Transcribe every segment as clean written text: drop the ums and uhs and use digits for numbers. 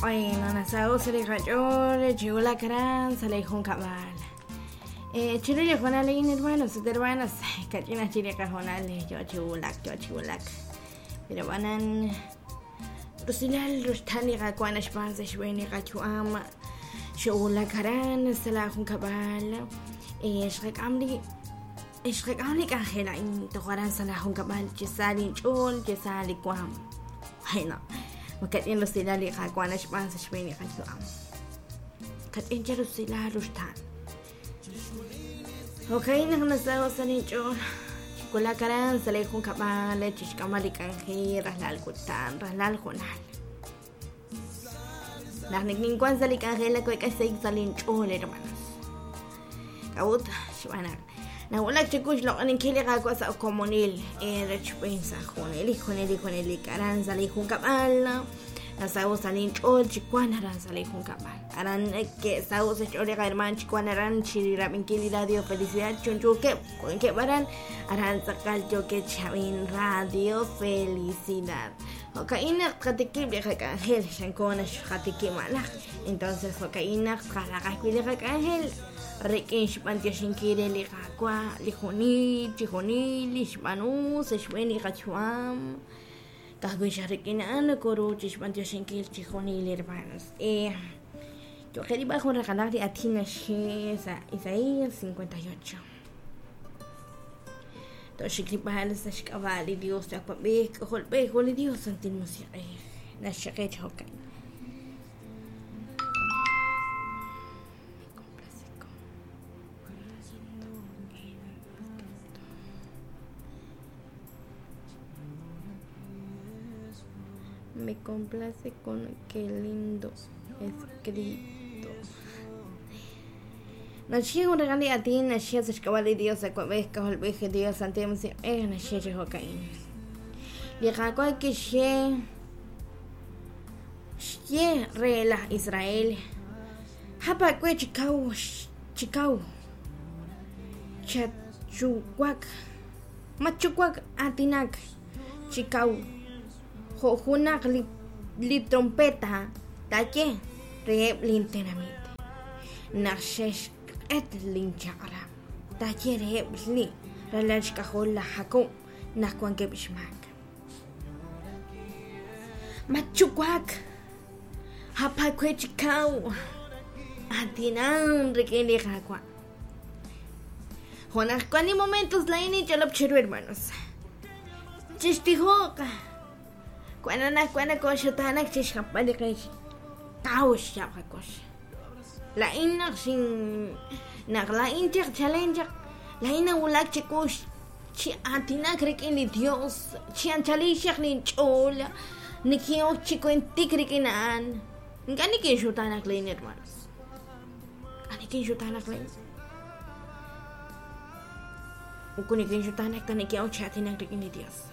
Bueno, nasaho' sa' li qach'ool chi wulak aran sa' li junkab'al. Chiru li hoonal a'in, hermanos ut hermanas, kach'in aj chik li qahoonal yoo chi wulak, yoo chi wulak. Pero ab'anan, rusilal ruxtaan li Qaawa' naxb'aan sa' xb'een li qayu'am. Xoowulak aran sa' laa junkab'al, xqak'am li xqak'am li k'anjel a'in toj aran sa' laa junkab'al chi sa linch'ool, chi sa li waam. Bueno, makach'in rusilal li Qaawa' naxb'aan sa' xb'een li qayu'am. Kach'in chi rusilal ruxtaan. Jo'ka'in naq nasaho' sa' linch'ool chi wulak aran sa' li junkab'al chi xk'amb'al li k'anjel rajlal kutan, rajlal hoonal. Naq nikinwank sa' li k'anjel naweek'a xsahil sa' linch'ool, hermanos. K'a'ut? Xb'aan naq nawulak chiwu xloq'oninkil li Qaawa' sa' komonil eerochb'een sa' junelik, junelik, junelik aran sa' li junkab'al. Nasaho' sa' linch'ool chi wank aran sa' li junkab'al. Aran ke'saho' sa' xch'ool li qahermaan chi wank aran chi rab'inkil li Radio Felicidad chunchuukeb' wankeb' aran, aran tz'aqal yookeb' chi ab'ink Radio Felicidad. Jo'ka'in naq tqatikib' li qak'anjel, xanko naxqatikib' malaj. Entonces jo'ka'in naq tqaraq ajwi' li qak'anjel rik'in xb'antioxinkil re li Qaawa' li junil chi junil li xb'aanu sa' xb'een li qayu'am. Ka'ajwi' xaq rik'in a'an nokoru chixb'antioxinkil chi junil, hermanos. Yo'qe rilb'al jun raqalaq li aatin naxye sa' Isaías 58. Toxik rilb'al sa' xk'ab'a' li Dios li Awab'ej, K'ajolb'ej ut li Dios Santil Musiq'ej. Naxye qe chi jo'kan. Me complace con qué lindo escrito. Naxye jun raqal li aatin naxye sa' xk'ab'a' li Dios Awab'ej, K'ajolb'ej, Dios Santil Musiq'ej, naxye chi jo'ka'in. Li Qaawa' kixye xye re laj Israel, Jap aawe chi kaw chi kaw, chatxuwak, matxuwak aatinak chi kaw jo' junaq li, li trompeta taaye reheb' lintenamit naq xe'xq'et linchaq'rab', taaye reheb' li ralal xk'ajol laj Jakob naq wankeb' xmaak. Matxuwak, jap aawe chi kaw, aatinan rik'in li Qaawa'. Jo' naq wan li momentos laa'in ninch'olob' cheru, hermanos. Chixtijoq. Wan anaqwan nakooxutaanak chi xjapb'al li qe kaw xyaab' qakux. Laa'in naq xin naq laa'in chaq chalen chaq laa'in nawulak chiwu chi aatinak rik'in li Dios chi anchalil xaq linch'ool nikin'ok chi wentik rik'in a'an. Ink'a' nikinxutaanak laa'in, hermanos. Ink'a' nikinxutaanak laa'in. Moko nikinxutaanak ta nikin'ok chi aatinak rik'in li Dios.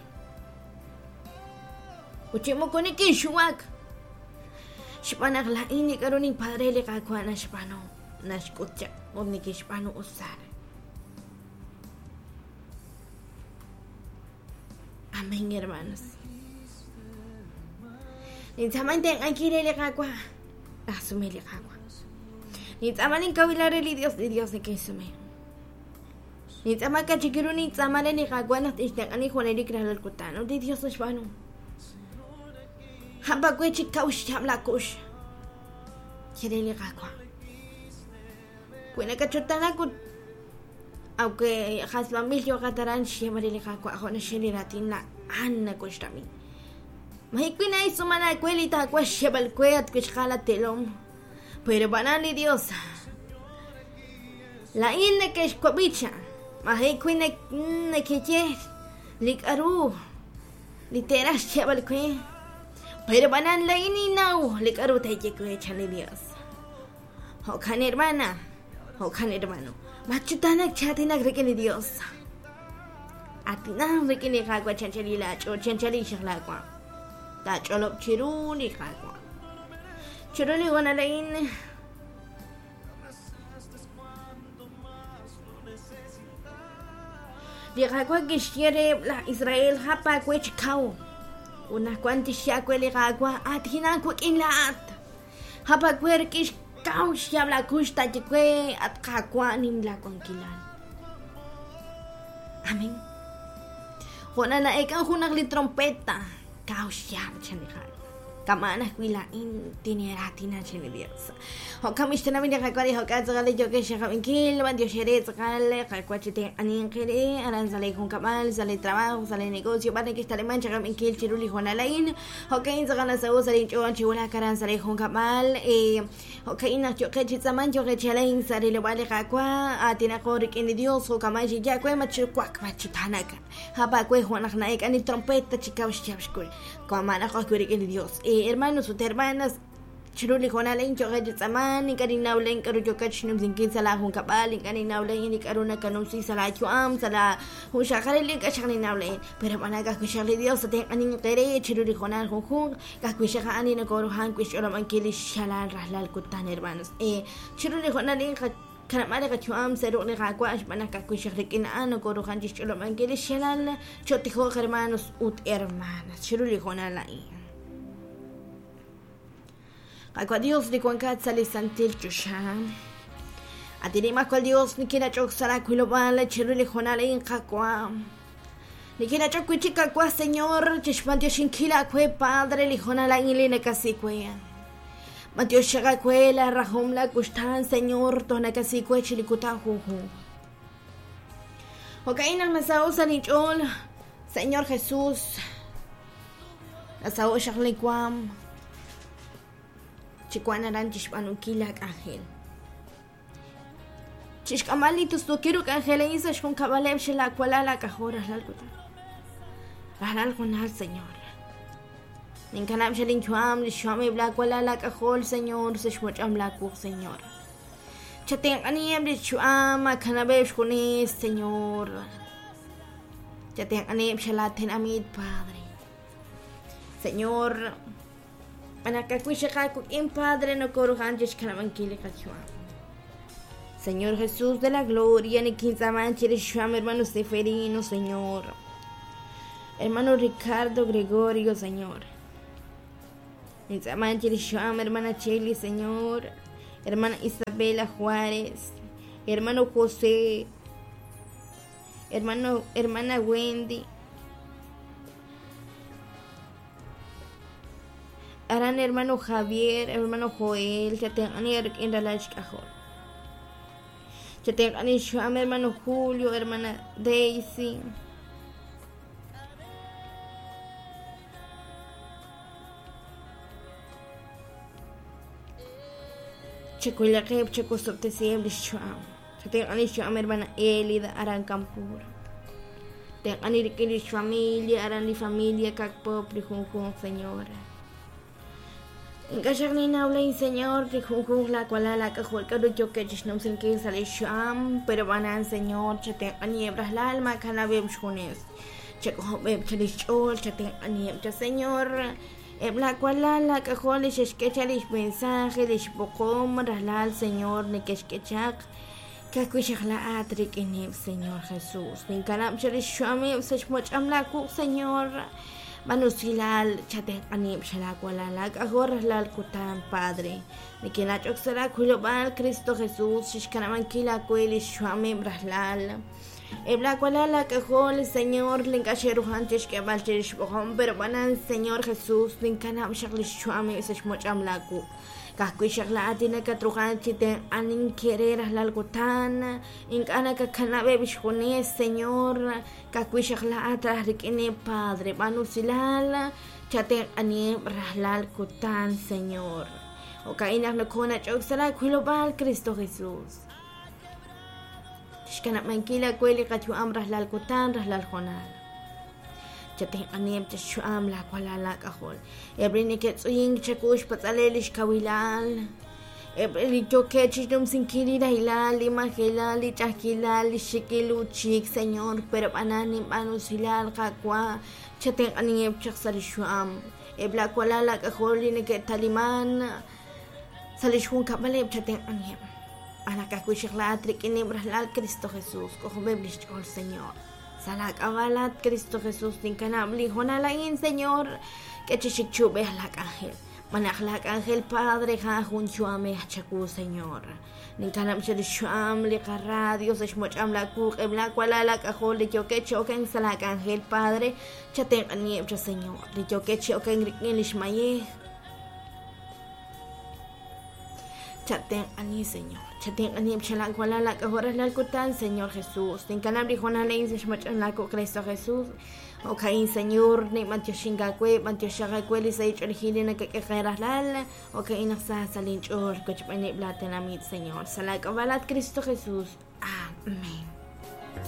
Ut chi moko nikinxuwak. Xb'aan naq laa'in li k'a'ru ninpadre li Qaawa' naxb'aanu, naxk'ut chaq ut nikixb'aanu usar. Amén, hermanos. Nintz'aama intenq'ankil re li Qaawa', naxsume li Qaawa'. Nintz'aama ninkawilal re li Dios, li Dios nikinxsume. Nintz'aama k'a' chik ru nintz'aama re li Qaawa' naq tixtenq'ani junelik rajlal kutan, ut li Dios naxb'aanu. Jap aawe chi kaw xyaab' laakux, ye re li Qaawa'. Wi nakatxutanak ut aunque jasb'anb'il yooqat aran xyeeb'al re li Qaawa' jo' naxye li raatin a'an nakoxrab'i. Maji wi na'istz'uumal aawe li taawaj xyeeb'al we at wixqal at teelom. Pero b'anan li Dios Laa'in neke'xwab'i cha, maji' wi nekeye li k'a'ru li teeraj xyeeb'al we, pero b'anan laa'in ninnaw li k'a'ru teeye we, chan li Dios. Jo'kan hermana, jo'kan hermano, matxutaanak chi aatinak rik'in li Dios. Aatinan rik'in li Qaawa' chi anchal laach'ool, chi anchal xaq laawaam. Taach'olob' chiru li Qaawa'. Chiru li hoonal a'in, Li Qaawa' kixye reheb' laj Israel, Jap aawe chi kaw. Ut naq wank tixye aawe li Qaawa', Aatinan wik'in laa'at. Jap aawe rik'in xkaw xyaab' laakux taaye we, At Qaawa' nim laawankilal. Amén. Jo' naq na'eek'an junaq li trompeta, kaw xyaab' chan li Qaawa'. Kama'an ajwi' laa'in tineeraatina chan li Dios. Jo'kan b'i' xtenamit li Qaawa' li jo'kan tz'aqal li yookex xaqab'inkil, b'antiox eere tz'aqal Qaawa' chi tenq'aninq eere aran sa' lee junkab'al, sa' lee trabajo, sa' lee negocio, b'ar nekextaliman chaqab'inkil chiru li hoonal a'in. Jo'ka'in tz'aqal nasaho' sa' linch'ool chi wulak aran sa' lee junkab'al. Jo'ka'in naq yooqeb' chi tz'aamank, yooqeb' chi alenk sa' rilob'aal li Qaawa', aatinaqo rik'in li Dios, jo'kama'an xinye aawe, matxuwak, matxutaanak. Jap aawe jo' naq na'eek'an li trompeta chi kaw xyaab' xkux. Kama'anaqo ajwi' rik'in li Dios. Hermanos ut hermanas, chiru li hoonal a'in yooqeb' chi tz'aamank, ink'a' ninnaw len k'a'ru yookat xnumsinkil sa' laa junkab'al, ink'a' ninnaw len li k'a'ru nakanumsi sa' laa yu'am, sa' laa junxaqalil, ink'a' xaq ninnaw len. Pero b'anak ajwi' xaq li Dios tatenq'aninq eere chiru li hoonal junjunq, ka'ajwi' xaq a'an li nokoruhan wi' xch'olob'ankil lix xalal rajlal kutan, hermanos. Chiru li hoonal a'in qakanab'a li qayu'am sa' ruq' li Qaawa' xb'aan naq ka'ajwi' xaq rik'in a'an nokoruhan chixch'olob'ankil lix xalal. Cho'tijoq, hermanos ut hermanas, chiru li hoonal a'in. Qaawa' Dios li wankat sa' li santil choxa. At Nimajwal Dios, nikinach'ok sa' laawilob'aal chiru li hoonal a'in, Qaawa'. Nikinach'ok wi' chik, Qaawa' Señor, chixb'antioxinkil aawe, Padre, li hoonal a'in li nakasi we. B'antiox xaq aawe la rajom la wuxtaan, Señor, toj nakasi we chi li kutan junjunq. Jo'ka'in naq nasaho' sa' linch'ool, Señor Jesús, nasaho' xaq li waam chi wank aran chixb'aanunkil laa k'anjel. Chixk'amb'al li tustuukil ru k'anjel a'in sa' xjunkab'aleb' xel aawalal aak'ajol rajlal kutan. Rajlal junal, Señor. Ninkanab' xel inyu'am li xyu'ameb' laa walal aak'ajol, Señor, sa' xmoch'am laa wuq, Señor. Chatenq'aniheb' li xyu'am, maakanab'eb' xjunes, Señor. Chatenq'aniheb' xel aatenamit, Padre. Señor, Anaqawi xaq aawik'in, Padre, nokoruhan chixkanab'ankil li qayu'am. Señor Jesús de la Gloria, nikintz'aaman chirix xyu'am hermano Seferino, Señor. Hermano Ricardo Gregorio, Señor. Nintz'aaman chirix xyu'am hermana Cheli, Señor. Hermana Isabela Juárez, hermano José, hermano, hermana Wendy. Aran hermano Javier, hermano Joel, chatenq'ani rik'in ralal xk'ajol. Chatenq'ani xyu'am hermano Julio, hermana Daisy. Chakuylaqeb', chakusob'tesiheb' lix yu'am. Chatenq'ani xyu'am hermana Elida aran Campur. Tenq'ani rik'in lix familia, aran li familia Kakpop li junjunq, Señora. Ink'a' xaq ninnaw lin Señor li junjunq laawalal laak'ajol k'aru yookeb' chixnumsinkil sa' lix yu'am, pero b'anan, Señor, chatenq'aniheb' rajlal maakanab'eb' xjunes. Chak'ojob'eb' cha lix ch'ool, chatenq'aniheb' cha, Señor. Eb' laawalal laak'ajol li xe'xk'e chaq lix mensaje, lix b'oqom rajlal, Señor, neke'xk'e chaq. Ka'ajwi' xaq laa'at rik'ineb', Señor Jesús. Ninkanab' chaq lix yu'ameb' sa' xmoch'am laawuq', Señor. B'an usilal, chatenq'anib' xa laawalal laak'ajol rajlal kutan, Padre. Nikinach'ok sa' laawilob'aal, Cristo Jesús, chixkanab'ankil aawe lix yu'ameb' rajlal. Eb' laawalal laak'ajol, Señor, li ink'a' xe'ruhan chixk'eeb'al chirix xb'oqom, pero b'anan, Señor Jesús, ninkanab' xaq lix yu'ameb' sa' xmoch'am laawuq'. Ka'ajwi' xaq laa'at li nakatruhan chi tenq'anink re rajlal kutan, ink'a' nakakanab'eb' xjunes, Señor, ka'ajwi' xaq laa'at raj rik'ineb', Padre, b'aan usilal, chatenq'aniheb' rajlal kutan, Señor. Jo'ka'in naq nokoonach'ok sa' laawilob'aal, Cristo Jesús. Chixkanab'ankil aawe li qayu'am rajlal kutan, rajlal hoonal. Chatenq'aniheb' chixyu'am laawalal laak'ajol. Eb' li neke'tz'uyink chawu xpatz'ale li xkawilal, eb' li yookeb' chixnumsinkil li rahilal, li majelal, li ch'a'ajkilal, li xik'il uuchik, Señor, pero b'anan ninb'aanu usilal, Qaawa', chatenq'aniheb' chaq sa' li xyu'am. Eb' laawalal laak'ajol li neke'taliman sa' li xjunkab'aleb' chatenq'aniheb'. B'an ka'ajwi' xaq laa'at rik'ineb' rajlal Cristo Jesús, k'ojob'eb' li xch'ool, Señor. Sa' laak'ab'a' laat Cristo Jesús ninkanab' li hoonal a'in, Señor, k'e chi xik chi ub'ej laak'anjel. Xb'aan naq laa k'anjel, Padre, a'an jun yu'amej chawu, Señor. Ninkanab' chirix xyu'am li qaradio sa' xmoch'am laa wuq', eb' laa walal aak'ajol li yookeb' chi okenk sa' laa k'anjel, Padre, chatenq'aniheb' cha, Señor, li yookeb' chi okenk rik'in lix mayej. Chatenq'ani, Señor. Chatenq'aniheb' cha laa walal aak'ajol rajlal kutan, Señor Jesús. Ninkanab' li hoonal a'in sa' xmoch'am laa wuq', Cristo Jesús. Jo'ka'in, Señor, ninb'antioxink aawe, b'antioxaq aawe li sahil ch'oolejil li nakak'e qe rajlal. Jo'ka'in naq sa sa' linch'ool wochb'eeneb' laa tenamit, Señor. Sa' laa k'ab'a' laat Cristo Jesús. Amén.